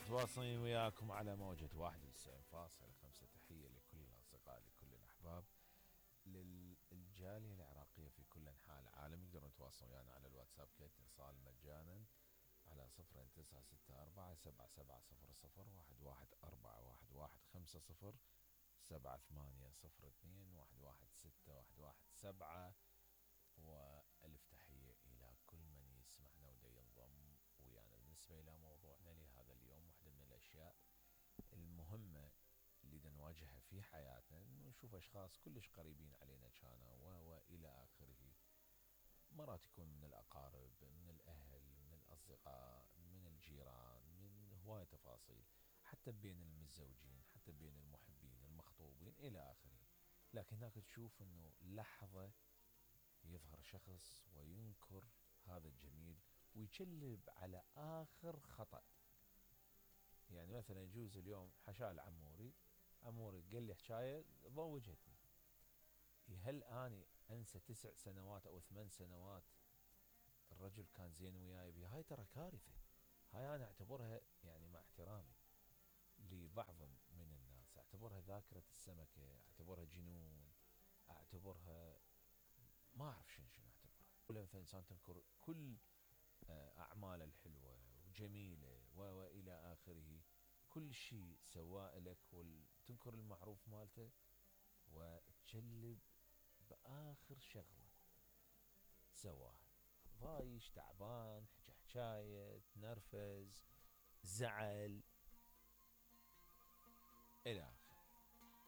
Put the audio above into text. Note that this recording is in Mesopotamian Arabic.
متواصلين وياكم على موجة 91.5. تحية لكل الأصدقاء، لكل الأحباب، للجالية العراقية في كل أنحاء العالم. يقدرون يتواصلون ويانا على الواتساب كاتصال مجانا على 096477001150 7802116117. وألف تحية إلى كل من يسمعنا ودا ينضم ويانا. بالنسبة إلى موضوعنا لهذا اليوم، واحدة من الأشياء المهمة اللي نواجهها في حياتنا إنه نشوف أشخاص كلش قريبين علينا كانوا وإلى آخره. مرات يكون من الأقارب، من الأهل، من الأصدقاء، من الجيران، من هواية تفاصيل، حتى بين المتزوجين، حتى بين المحبين، المخطوبين إلى آخره. لكن هناك تشوف إنه لحظة يظهر شخص وينكر هذا الجميل ويكلب على آخر خطأ. يعني مثلا يجوز اليوم حشال عموري قال لي حكاية ضوجتني. هل أنا أنسى 9 سنوات أو 8 سنوات الرجل كان زين وياي بها؟ هاي ترى كارثة. هاي أنا أعتبرها، يعني مع احترامي لبعض من الناس، أعتبرها ذاكرة السمكة، أعتبرها جنون، أعتبرها ما أعرف شنو أعتبرها. كل إنسان تنكر كل أعماله الحلوة وجميلة وإلى آخره، كل شيء سواه لك، وتنكر المعروف مالته وتجلب بآخر شغلة سواها. ضايش، تعبان، حكاية، تنرفز، زعل إلى آخره.